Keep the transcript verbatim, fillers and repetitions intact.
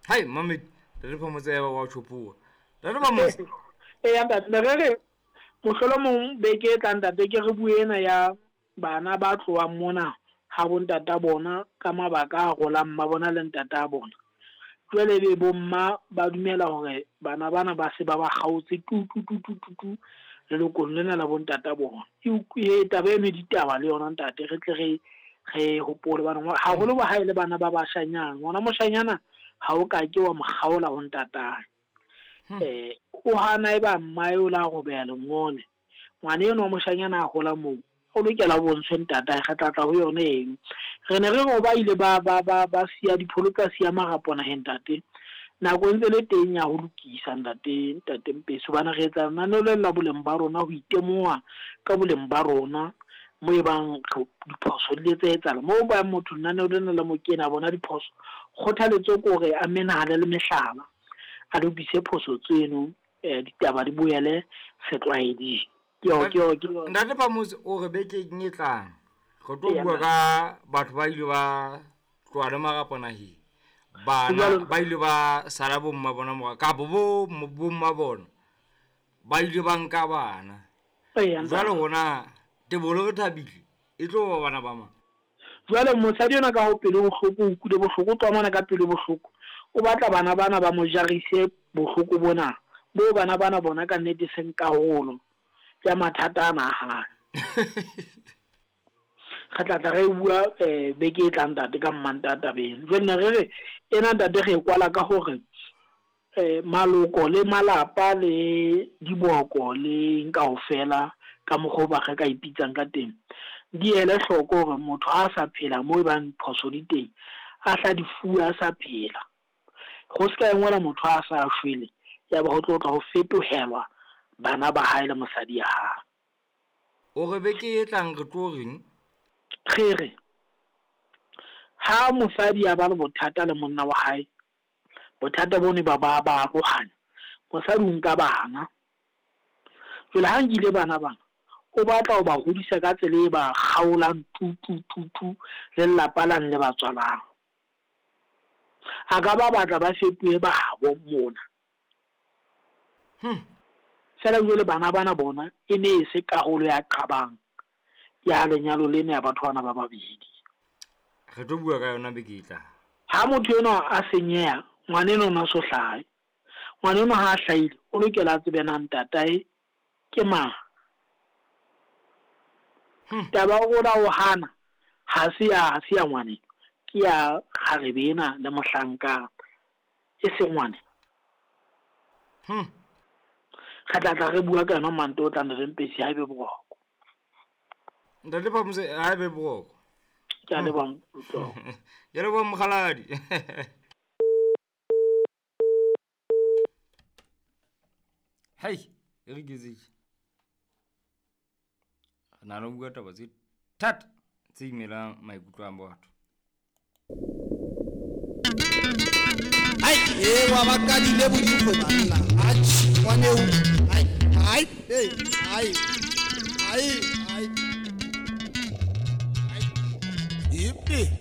Hai mamedi re Phamotse ya ba wa tjhopuwa. Ntate Phamotse. Eya ntate, ne re re mohlolomong beke e tlang ntate ke re bue ena ya bana ba tlohang mona ha bontata bona ka mabaka a rolang mma bona le ntata bona. Jwale ebe bomma ba dumela hore bana bana ba se ba ba kgaotse tu tu tu tu tu tu lelokong lena la bontata bona. E taba eno e ditaba le yona ntate, re tle re re hopole bana haholo ba hae le bana ba bashanyana. Ngwana moshanyana ha o ka ke wa mo kgaola ho ntatae. Eh o hana e ba mmae o la robeha lengole. Ngwana enwa wa moshanyana a hola moo o lokela ho bontshwe ntatae, re tla tla ho yona eno. Re ne re re ba ile ba ba ba ba siya dipholo tsa siya marapo naheng ntate. Nako e ntse le teng ya ho lokisa ntate, ntate Mpesi, hobane re etsa lenaneo le la boleng ba rona ho itemoha ka boleng ba rona mo e bang diphoso di tse etsahala. Mo ba motho lenaneo lena la mo kena bona diphoso, kgothaletso ke hore a menahane le mehlala, a lokise phoso tseno, eh ditaba di boele setlwaeding. Ke yo ke yo ke yo. Ntate Phamotse o re bekeng e tlang re tlo bua ka batho ba ile ba tloha le marapo naheng. Bana ba ile ba sala bomma bona mora kapa bo bomma bona ba ile ba nka bana. Jwale hona Tebolo re thabile e tlo ba bana ba mang? Jwale mosadi yona ka ho pelo bohloko, o utlwile bohloko, o tloha mona ka pelo bohloko. O batla bana bana ba mo jarise bohloko bona. Bo bana bana bona ka nnete seng karolo ya mathata ana a hae. Re tla tla re bua eh beke e tlang ntate ka Mmantaha tabeng. Jwale ne re re ena ntate re e kwala ka hore eh maloko le malapa le diboko le kaofela ka mokgwa o ba re ka ipitsang ka teng di ele hloko hore motho ha a sa phela mo e bang phoso di teng a hla di fuwe a sa phela. Ho se ka engwela motho a sa shwele ya ba ho tlo tla ho fetohelwa bana ba hae le mosadi ya hae. O re beke e tlang re tlo reng? Re re ha mosadi a ba le bothata le monna wa hae, bothata bone ba ba ba arohana, mosadi o nka bana. Jwale ha nkile bana bana o batla ho ba hodisa ka tsela e ba kgaolang tu tu tu tu le lelapa lane le ba tswalang. A ka ba batla ba fetohe ba habo mona. Hmm. Fela jwale bana bana bona e ne e se karolo ya qabang ya lenyalo lena ya batho bana ba babedi. Re tlo bua ka yona beke e tlang. Ha motho enwa a senyeha, ngwana enwa o na so hlahe. Ngwana enwa ha a hlahile, o lokela a tsebe na ntatae ke mang. Hmm. Taba ya hore o hana ha se ya, ha se ya ngwaneno, ke ya kgarebe ena le mohlanka e seng ngwaneno. Hmm. Re tla tla re bua ka yona Mantaha o tlang re Mpesi ha ebe boroko. Ntate Phamotse ha ebe boroko. Ke a leboha Ntlong. Ke leboha mokgaladi. Hei, e re ketsetse. Re na le ho bua taba tse thata tse imelang maikutlo a batho. Ai, e wa ba kadile bodikgwe banna. Atjhe, ngwaneo. Ai, ai, ei, ai. Ai, ai. Ai. Ipe.